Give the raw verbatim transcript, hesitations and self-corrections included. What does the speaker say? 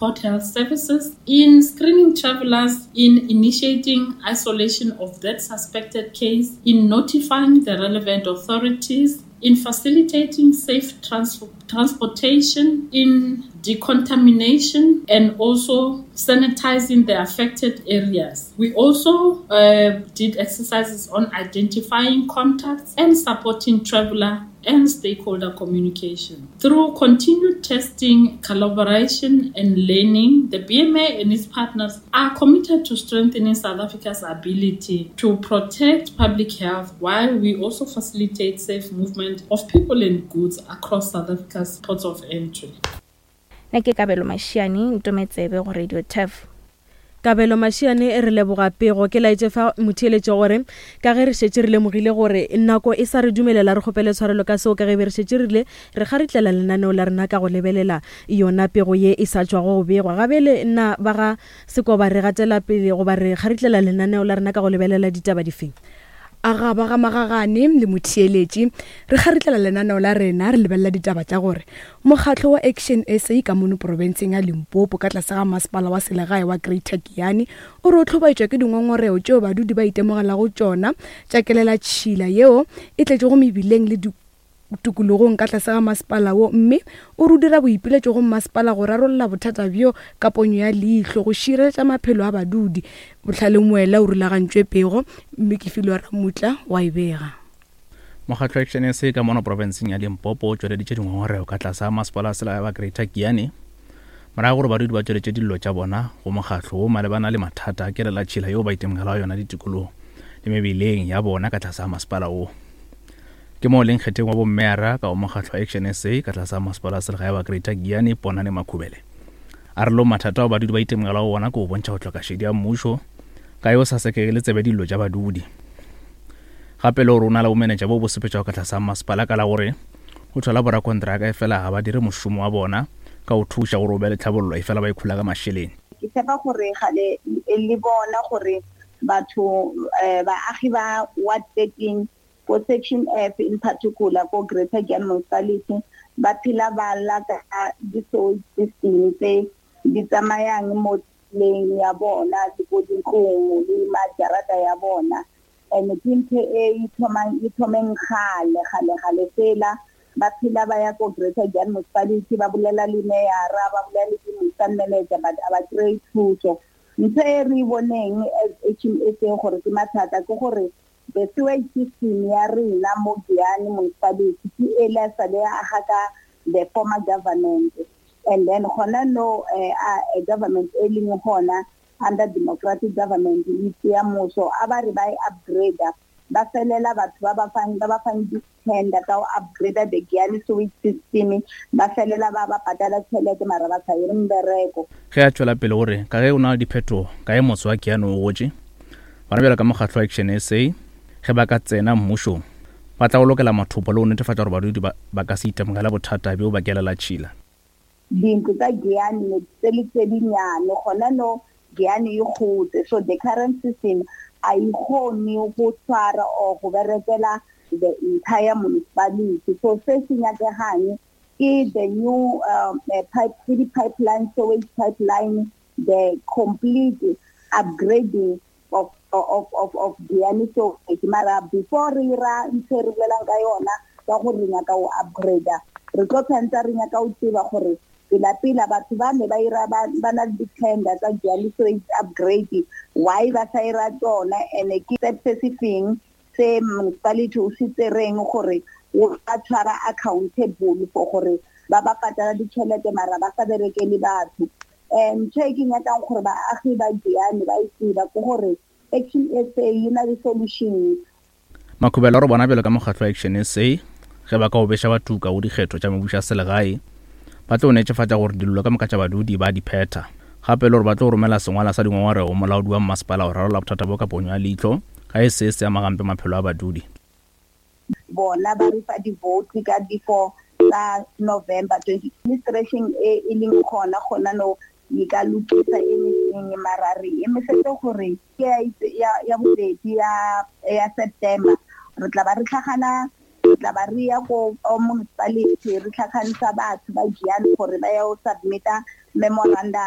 Port Health Services in screening travelers, in initiating isolation of that suspected case, in notifying the relevant authorities, in facilitating safe trans- transportation, in decontamination, and also sanitizing the affected areas. We also uh, did exercises on identifying contacts and supporting traveler and stakeholder communication. Through continued testing, collaboration, and learning, the B M A and its partners are committed to strengthening South Africa's ability to protect public health while we also facilitate safe movement of people and goods across South Africa's ports of entry. Nna ke Kabelo Mashiane, ntometsebe go Radio T E F. Kabelo Mashiane e re leboga pego. Ke laetše fa motheeletše gore ka ge re šetše re lemogile gore nako e sa re dumelela, re kgopele tshwarelo ka seo, ka ge be re šetše rile re kgaritlela lenaneo la rena ka go lebelela yona pego ye e sa tšwago go begwa. Gabele nna ba ga Sekoba re gatela pele goba re kgaritlela lenaneo la rena ka go lebelela ditaba difeng? A ga ba ga magagane le motheeletši, re kgaritlela lenaneo la rena re lebelela ditaba tša gore mokgatlo wa Action S A ka mono profenseng ya Limpopo ka tlase ga masepala wa selegae wa Greater Giyani o re o hlobaetšwa ke dingongorego tšeo badudi ba itemogelago tšona tša kelela tšhila yeo e tletšego mebileng le tikologong ka tlase ga masepala wo, mme o re o dira boipiletšo go masepala go rarolla bothata bjo ka ponyo ya leihlo go šireletša maphelo a badudi. Bohlale Moela o rulagantšwe pego, mme ke Filwe Ramutla wa e bega. Mokgatlo wa Action S A ka mono profenseng ya Limpopo o tšweleditše dingongorego ka tlase ga masepala wa selegae wa Greater Giyani morago gore badudi ba tšweletše dillo tša bona go mokgatlo wo malebana le mathata a kelela tšhila yeo ba itemogelago yona ditikologong le mebileng ya bona ka tlase ga masepala wo. Ke moo leng kgetheng wa bommeyara ka go mokgatlo wa Action S A ka tlase ga masepala wa selegae wa Greater Giyani, Ponane Makhubele. A re lo mathata ao badudi ba itemogelago ona ke go bontšha go hloka šedi ya mmušo ka yo sa sekegele tsebe dillo tša badudi. Gape le gore o na le bomenetša bo bo sepetšago ka tlase ga masepala ka la gore o thola borakontraka e fela ga ba dire mošomo wa bona ka go thuša gore o be le tlhabollo e fela ba ikhula ka mašeleng. Ke tshepa gore ga le, le bona gore batho, eh, baagi ba ward thirteen ko section F in particular ko Greater Giyani Municipality ba phela ba lla ka di-sewage system tse di tsamayang mo tseleng ya bona le ko dintlong le majarata ya bona. And ke ntho e ithomang, e thomeng kgale, kgale, kgale fela. Ba phela ba ya ko Greater Giyani Municipality, ba bolela le meyara, ba bolela le di-municipal manager, but ha ba kry-e thuso. Ntho e re e boneng as H M S A gore ke mathata ke gore the sewage system ya rena mo Giyani Municipality ke e le sa le aga ka the former government, and then gona no, eh, a government e leng gona under democratic government e tseya mmuso, a ba re ba e upgrade, ba felela batho ba ba fang, ba ba fang di-tender tsa ho upgrade the Giyani sewage system, ba felela ba ba patala tjhelete mara ba sa ire mbereko. Ge a tšwela pele gore ka ge o na le diphetogo ka ge motse wa Giyani o gotše, bona bjalo ka mokgatlo wa Action S A ge ba ka tsena mmušong ba tla go lokela mathopo le go netefatša gore badudi ba, ba ka se itemogela bothata bjo ba kelela tšhila. Dintlo tsa Giyani ne tse le tse dinnyane, gona no Giyani e gotse, so the current system a e kgone go tshwara or go berekela the entire municipality. So se se nyakegang ke the new, um, eh, pipe, ke di-pipeline, sewage pipeline, the complete upgrading of, of, of, of Giyani sewage. Mara before re ira ntho e re bolelang ka yona ka gore re nyaka go upgrade-a, re tlo tshwanetse re nyaka go tseba gore pela-pela batho ba ne ba ira ba, ba na le di-tender tsa Giyani sewage upgrade, why ba sa ira tsona, and ke step se se feng se municipality o se tsereng gore o ba tshwara accountable for gore ba ba patala ditšhelete mara ba sa berekele batho. Um, ntho e ke nyakang gore baagi ba Giyani ba e tseba ke gore Action S A e na le solution. Makhubela o re bona bjalo ka mokgatlo wa Action S A ge ba ka o beša batuka go dikgetho tša mebušo ya selegae, ba tlo netefatša gore dillo ka moka tša badudi ba di phetha. Gape le gore ba tlo romela sengwala sa dingongorego go molaodi wa mmasepala go rarolla bothata bo ka ponyo ya leihlo ka e se se ama gampe maphelo a badudi. Bona ba re fa di-vote ka di-four tsa November twenty. Administration e e leng gona gona no e ka lokisa anything, mara re emisetse gore ke ya itse, ya, ya bobedi ya, ya September re tla ba re tlhagana, re tla ba re ya ko municipality re tlhagantsha batho ba Giyani gore ba ya go submit-a memorandum.